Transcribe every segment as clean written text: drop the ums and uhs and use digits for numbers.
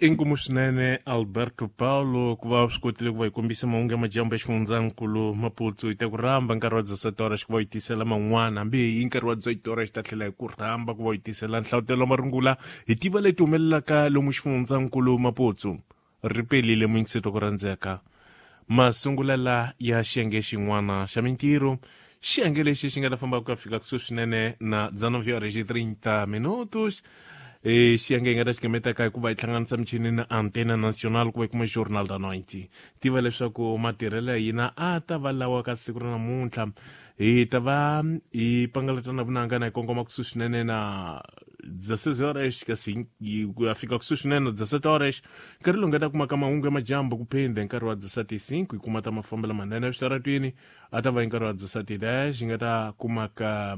Inkomu swinene Alberto Paulo ku va swi kotile ku va hi kombisa mahungu ya majambu ya xifundzankulu Maputo. Hi ta ku rhamba nkarhi wa 17 horas ku va hi tisela man'wana, hambi hi nkarhi wa 18 horas xi ta tlhela hi ku rhamba ku va hi tisela nhlavutelo wa marungula hi tiva leti humelelaka lomu xifundzankulu Maputo. Ri pelile muyingiseti wa ku rhandzeka masungulela ya xiyenge xin'wana xa mintirho, xiyenge lexi xi nga ta famba ku ya fika kusuhi swinene na 19 horas 30 minutos. Xiyenge hi nga ta xi gametaka hikuva hi hlanganisa michini na Antena Nacional ku va hi kuma Jornal da Noite. Tiva leswaku matirhelo ya hina a ta va lawa ka siku ra namuntlha: hi ta va hi pangalatana vunanga na hi kongoma kusuhi swinene na 16 horas, kasi ku ya fika kusuhi swinene na 17 horas, nkarhi lowu nga ta kumaka mahungu ya majambu. Ku phinde nkarhi wa 17:05 hi kuma ta mafambelo manene eswitaratwini. A ta va hi nkarhi wa 17:10 hi nga ta kumaka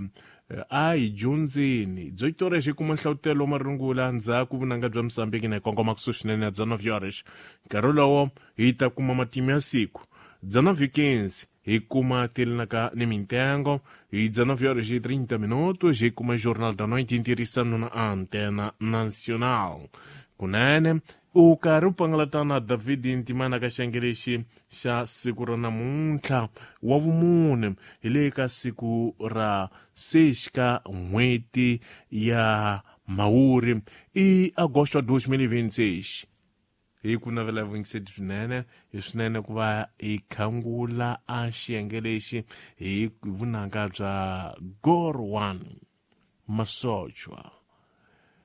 a hi dyondzeni 18 horas, hi kuma nhlavutelo wa marungula. Ndzhaku vunanga bya Mosambiki na hi kongoma kusuhi swinene na 19 horas, nkarhi lowo hi ta kuma matimu ya siku. 19:15 hi kuma telinaka ni mintengo. Hi 19 horas e 30 minutos hi kuma Jornal da Noite ntirhisano na Antena Nacional. Kunene u karhi u pangalatana David Ntimana ka xiyenge lexi xa siku ra namuntlha wa vumune, hi le ka siku ra 6 ka n'hweti ya Mhawuri, i Agosto 2026. Hi ku navela vuyingiseti swinene, hi swinene ku va hi khangula a xiyenge lexi hi vunanga bya Gorwan Masochwa.